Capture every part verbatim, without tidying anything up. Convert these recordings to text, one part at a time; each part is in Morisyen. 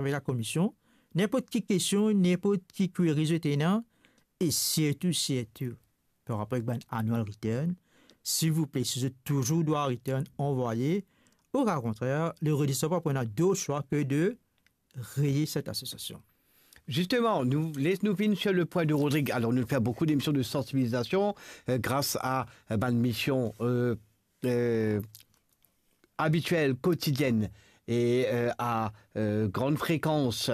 avek lakomision, ninport ki kestion, ninport ki query zot ena, e sirtou, sirtou, par rapor ek bann annual return, silvouple, si zot touzour dwa return, anvwaye. Okakontrer, le redresman pa pou ena dot swa ke de reye set asosiasion. Justement, nous, laisse nous finir sur le point de Rodrigue. Alors, nous faisons beaucoup d'émissions de sensibilisation euh, grâce à euh, ben, une mission euh, euh, habituelle, quotidienne et euh, à euh, grande fréquence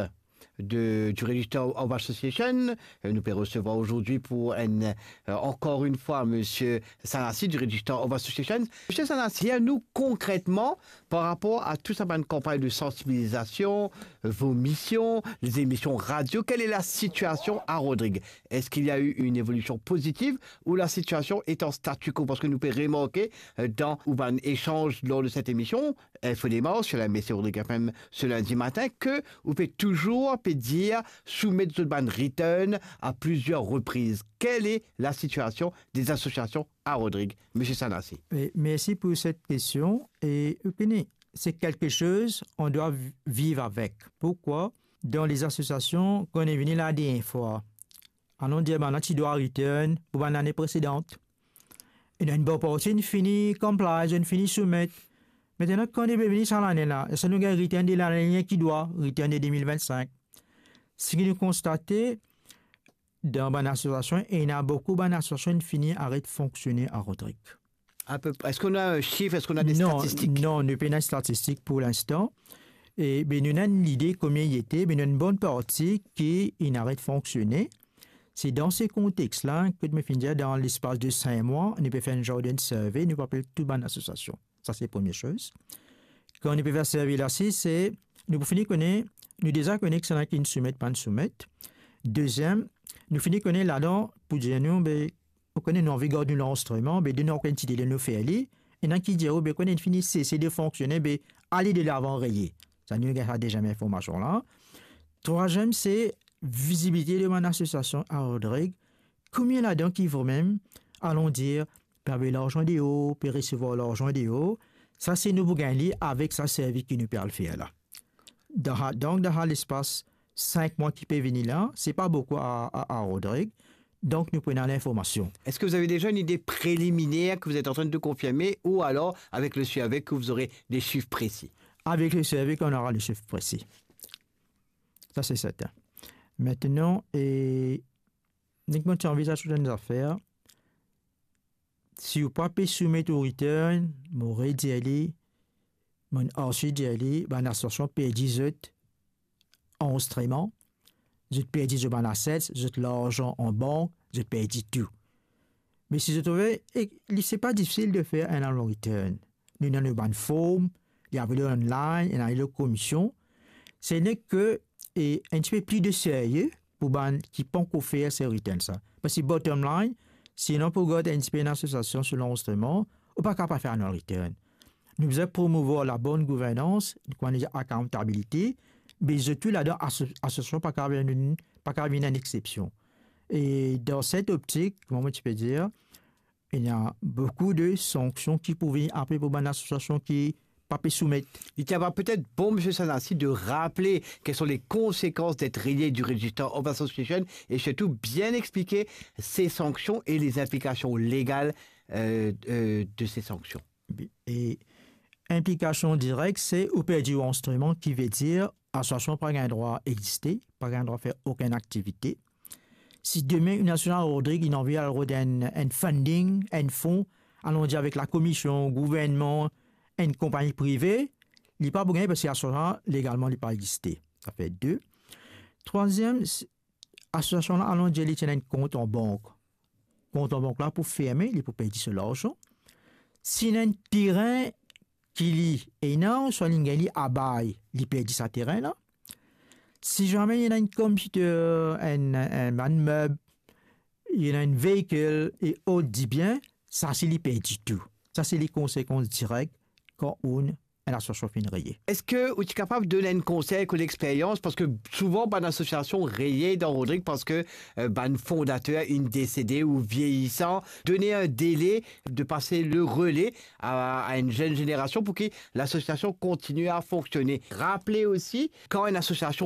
de, du Register of Association. Euh, Nous pouvons recevoir aujourd'hui pour une, euh, encore une fois Monsieur Sanasi du Register of Association. Monsieur Sanasi, à nous concrètement, par rapport à toute cette campagne de sensibilisation, euh, vos missions, les émissions radio, quelle est la situation à Rodrigue? Est-ce qu'il y a eu une évolution positive ou la situation est en statu quo? Parce que nous pouvons remarquer euh, dans ou bann échange lors de cette émission, Info Démarche, sur la M S C Rodrigue F M ce lundi matin, que ou peut toujours peut dire soumettre zot bann return à plusieurs reprises. Quelle est la situation des associations à Rodrigue, Monsieur Sanasi? E mersi pou set kestion. E ou kone, se kelke soz on dwa vi- viv avek. Pourkwa? Dan les asosiasion, kan nou vini la dernie fwa, anon dir bann ti dwa return pou bann lane presedan. E nou enn bon parti, nou fini comply, nou fini soumet. Aster kan nou pe vini sa lane la, eski nou gagn return de lane ki dwa, return de de mil vennsink? Seki nou konstate, dan bann asosiasion, ena boukou bann asosiasion fini aret fonksione a Rodrigue. À peu près. Est-ce qu'on a un chiffre? Est-ce qu'on a des statistiques? Non, nou pena statistik pou linstan. E be nou ena enn lide komie li ete, be nou ena enn bon parti ki inn aret fonksione. Se dan se kontex la, kot mo finn dir, dan lespas de sink mwa, nou pe fer enn zar de survey, nou pe apel tou bann asosiasion. Sa se premie soz. Kan nou pe fer survey la, si se, nou pou fini kone, nou deza kone ki sa ena ki inn soumet, pa'nn soumet. Deziem, nou fini kone ladan, pou dir nou, be, ou kone nou anvi gard nou lanrezistreman, be donn nou ankor enn ti dele nou fer li, ena ki dir ou, be kone inn fini sese de fonksione, be ale delavan, reye. Sa nou gagn sa deziem informasion la. Trwaziem, se vizibilite de bann asosiasion a Rodrigue. Komie ladan ki vremem, alon dir, pe avoy larzan deor, pe resevwar larzan deor? Sa se nou pou gagn li avek sa survey ki nou pe al fer la. Dan sa, donk, dan sa lespas sink mwa ki pe vini la, se pa boukou a, a, a Rodrigue, donk nou pou ena linformasion. Est-ce que vous avez déjà une idée préliminaire que vous êtes en train de confirmer ou alors avec le survey que vous aurez des chiffres précis? Avek le survey, kan nou nora le chif presi. Sa se serten. Aster, e, nek mo ti anvi dir zot enn zafer, si ou pa pe soumet ou return, mo redir li, mo arsi dir li, bann asosiasion perdi zot anrezistreman, zot perdi zot bann assets, zot larzan an bank, zot perdi tou. Me si zot trouve, e li, se pa difisil de fer enn annual return. Nou ena nou bann form, li avoy online, ena lor komision. Se nek ke, e, enn tipe pli de serye pou bann ki pankor fer se return sa. Parski bottom line, si nou pou gard enn tipe enn asosiasion so lanrezistreman, ou pa kapav fer annual return. Nou bizin promouvwar labonn gouvernans, kouma nou dir accountability, be zot tou ladan aso-, asosiasion pa kapav vinn, pa kapav vinn enn exsepsion. E dan set optik, kouma mo ti pe dir, ena boukou de sanksion ki pou vini apre pou bann asosiasion ki pa pe soumet. Il tiendra peut-être bon, Monsieur Sanasi, de rappeler quelles sont les conséquences d'être rayé du Register of Association et surtout bien expliquer ces sanctions et les implications légales euh, euh, de ces sanctions. E inplikasion direk, se ou perdi ou anrezistreman, ki ve dir asosiasion pa gagn drwa existe, pa gagn drwa fer okenn aktivite. Si demin enn asosiasion a Rodrig inn anvi al rod enn, enn funding, enn fon, alon dir avek lakomision, gouvernman, enn konpagni prive, li pa pou gagne parski asosiasion la, legalman, li pa existe. Sa fer de. Trwaziem, s-, asosiasion la, alon dir li ti ena enn kont an bank. Kont an bank la pou ferme, li pou perdi so larzan. Si ena enn terin ki li ena, swa li gagn li a bay, li perdi sa terin la. Si zame li ena enn computer, enn, enn bann meb, li ena enn veikil e ot dibien, sa si li perdi tou. Sa se le konsekans direk kan ou enn asosiasion finn reye. Eski ou ti kapav donn enn konsey ek ou lexperyans? Parski souvan bann asosiasion reye dan Rodrig parski, eh, bann fondater inn desede ou vieyisan. Donn enn dele de pase le rele a, a enn zenn zenerasion pou ki lasosiasion kontigne a fonksione. Rapel osi, kan enn asosiasion